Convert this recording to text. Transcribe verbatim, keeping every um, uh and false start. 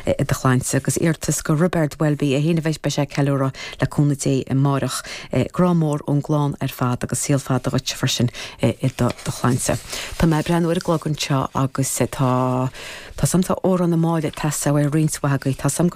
i do chlannsa agus iarratas go Roibeard Welby é féin a bheidh ag ceiliúradh le cúnamh Dé amárach grá mór ón gclann ar fad agus saol fada dhuit freisin i do do chlannsa. Tá mé breathnú ar an gclog anseo agus tá Tá samtá órán na máile tasa ar roinnt bhagaí Tá sam